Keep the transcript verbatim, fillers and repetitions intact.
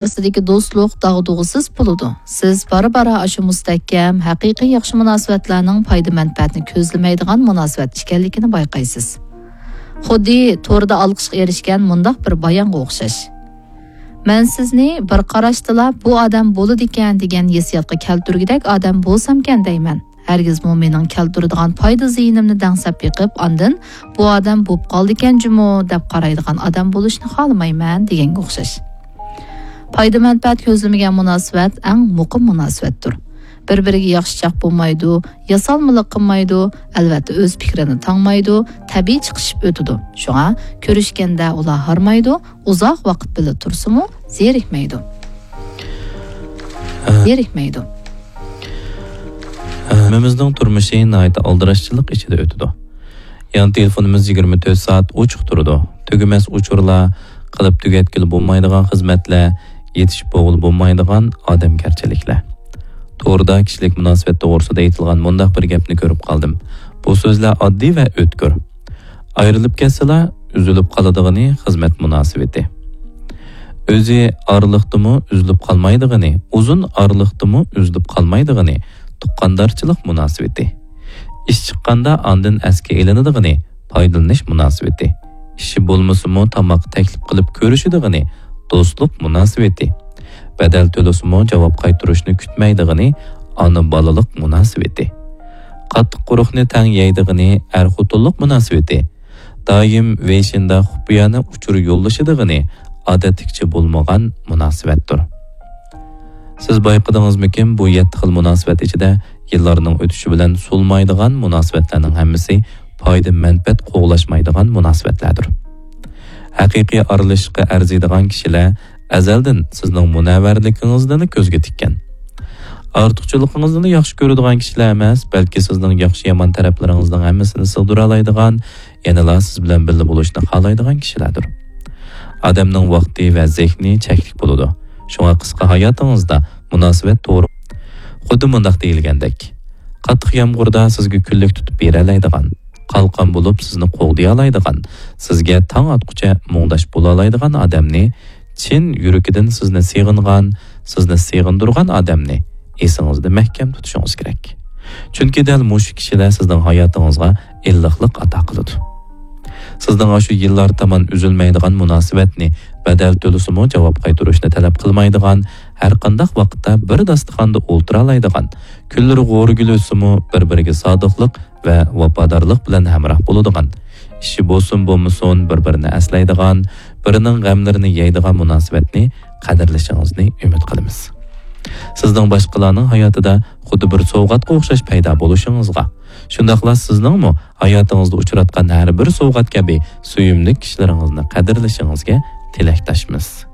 ئارىسىدىكى دوستلۇق داغدۇغىسىز بولىدۇ. سىز بارا-بارا ئاشۇ مۇستەھكەم، ھەقىقىي ياخشى مۇناسىۋەتلەرنىڭ پايدا-مەنپەئەتنى كۆزلىمەيدىغان مۇناسىۋەت ئىكەنلىكىنى بايقايسىز. خۇددى توردا ئالقىشقا ئېرىشكەن مۇنداق بىر بايانغا ئوخشاش. مەن سىزنى بىر قاراشتىلا بۇ ئادەم بولىدىكەن دېگەن ھېسسىياتقا كەلتۈرگۈدەك ئادەم بولسامكەن دەيمەن. ھەرگىزمۇ مېنىڭ كەلتۈرىدىغان پايدا زىيىنىمنى دەڭسەپ بېقىپ، ئاندىن بۇ ئادەم بوپ قالدىكەن جۇمۇ دەپ قارايدىغان ئادەم بولۇشنى خالىمايمەن دېگەنگە ئوخشاش. پايدا-مەنپەئەت كۆزلىمىگەن مۇناسىۋەت ئەڭ مۇقىم مۇناسىۋەتتۇر. بىر-بىرىگە ياخشىچاق بولمايدۇ، ياسالمىلىق قىلمايدۇ، ئەلۋەتتە ئۆز پىكرىنى تاڭمايدۇ، تەبىئىي چىقىشىپ ئۆتىدۇ. شۇڭا كۆرۈشكەندە ئۇلار ھارمايدۇ، ئۇزاق ۋاقىت بىللە تۇرسىمۇ زېرىكمەيدۇ. ھە. زېرىكمەيدۇ. ھەممىمىزنىڭ تۇرمۇشى ناھايىتى ئالدىراشچىلىق ئىچىدە ئۆتىدۇ. يان تېلېفونىمىز يىگىرمە تۆت سائەت ئوچۇق تۇرىدۇ. تۈگىمەس ئۇچۇرلار، قىلىپ تۈگەتكىلى بولمايدىغان خىزمەتلەر، يېتىشىپ بولغىلى بولمايدىغان ئادەمگەرچىلىكلەر. توردا كىشىلىك مۇناسىۋەت توغرىسىدا ئېيتىلغان مۇنداق بىر گەپنى كۆرۈپ قالدىم. بۇ سۆزلەر ئاددىي ۋە ئۆتكۈر. ئايرىلىپ كەتسىلا، ئۈزۈلۈپ قالىدىغىنى خىزمەت مۇناسىۋىتى. ئۆزى ئارىلىقتىمۇ ئۈزۈلۈپ قالمايدىغىنى، ئۇزۇن ئارىلىقتىمۇ ئۈزۈلۈپ قالمايدىغىنى تۇغقاندارچىلىق مۇناسىۋىتى. ئىش چىققاندا ئاندىن ئەسكە ئېلىنىدىغىنى پايدىلىنىش مۇناسىۋىتى. ئىشى بولمىسىمۇ تاماق تەكلىپ قىلىپ كۆرۈشىدىغىنى دوستلۇق مۇناسىۋىتى. بەدەل تۆلىسىمۇ جاۋاب قايتۇرۇشنى كۈتمەيدىغىنى ئانا بالىلىق مۇناسىۋىتى. قاتتىق قۇرۇقنى تەڭ يەيدىغىنى ئەر خوتۇنلۇق مۇناسىۋىتى. دائىم ۋېيشىندا خۇپىيانە ئۇچۇر يوللىشىدىغىنى ئادەتتىكىچە بولمىغان مۇناسىۋەتتۇر. سىز بايقىدىڭىزمىكىن، بۇ يەتتە خىل مۇناسىۋەت ئىچىدە يىللارنىڭ ئۆتۈشى بىلەن سولمايدىغان مۇناسىۋەتلەرنىڭ ھەممىسى پايدا-مەنپەئەت قوغلاشمايدىغان مۇناسىۋەتلەردۇر. ھەقىقىي ئارىلىشىشقا ئەرزىيدىغان كىشىلەر ئەزەلدىن سىزنىڭ مۇنەۋۋەرلىكىڭىزنىلا كۆزگە تىككەن. ئارتۇقچىلىقىڭىزنىلا ياخشى كۆرىدىغان كىشىلەر ئەمەس، بەلكى سىزنىڭ ياخشى-يامان تەرەپلىرىڭىزنىڭ ھەممىسىنى سىغدۇرالايدىغان، يەنىلا سىز بىلەن بىللە بولۇشنى خالايدىغان كىشىلەردۇر. ئادەمنىڭ ۋاقتى ۋە زېھنى چەكلىك بولىدۇ. شۇڭا قىسقا ھاياتىڭىزدا مۇناسىۋەت توغرا. خۇددى مۇنداق دېيىلگەندەك، قاتتىق يامغۇردا سىزگە كۈنلۈك تۇتۇپ بېرەلەيدىغان، قالقان بولۇپ سىزنى قوغدىيالايدىغان، سىزگە تاڭ ئاتقۇچە مۇڭداش بولالايدىغان ئادەمنى، چىن يۈرىكىدىن سىزنى سېغىنغان، سىزنى سېغىندۇرغان ئادەمنى ئېسىڭىزدە مەھكەم تۇتۇشىڭىز كېرەك. چۈنكى دەل مۇشۇ كىشىلەر سىزنىڭ ھاياتىڭىزغا ئىللىقلىق ئاتا قىلىدۇ. سىزنىڭ ئاشۇ يىللار تامان ئۈزۈلمەيدىغان مۇناسىۋەتنى، بەدەل تۆلىسىمۇ جاۋاب قايتۇرۇشنى تەلەپ قىلمايدىغان، ھەرقانداق ۋاقىتتا بىر داستىخاندا ئولتۇرالايدىغان، كۈنلىرى غورىگىل ئۆتسىمۇ بىر-بىرىگە سادىقلىق ۋە ۋاپادارلىق بىلەن ھەمراھ بولىدىغان، ئىشى بولسۇن بولمىسۇن بىر-بىرىنى ئەسلەيدىغان، بىرىنىڭ غەملىرىنى يەيدىغان مۇناسىۋەتنى قەدىرلىشىڭىزنى ئۈمىد قىلىمىز. سىزنىڭ باشقىلارنىڭ ھاياتىدا خۇددى بىر سوۋغاتقا ئوخشاش پەيدا بولۇشىڭىزغا، شۇنداقلا سىزنىڭمۇ ھاياتىڭىزدا ئۇچراتقان ھەر بىر سوۋغات كەبى سۆيۈملۈك كىشىلىرىڭىزنى قەدىرلىشىڭىزگە تىلەكداشمىز.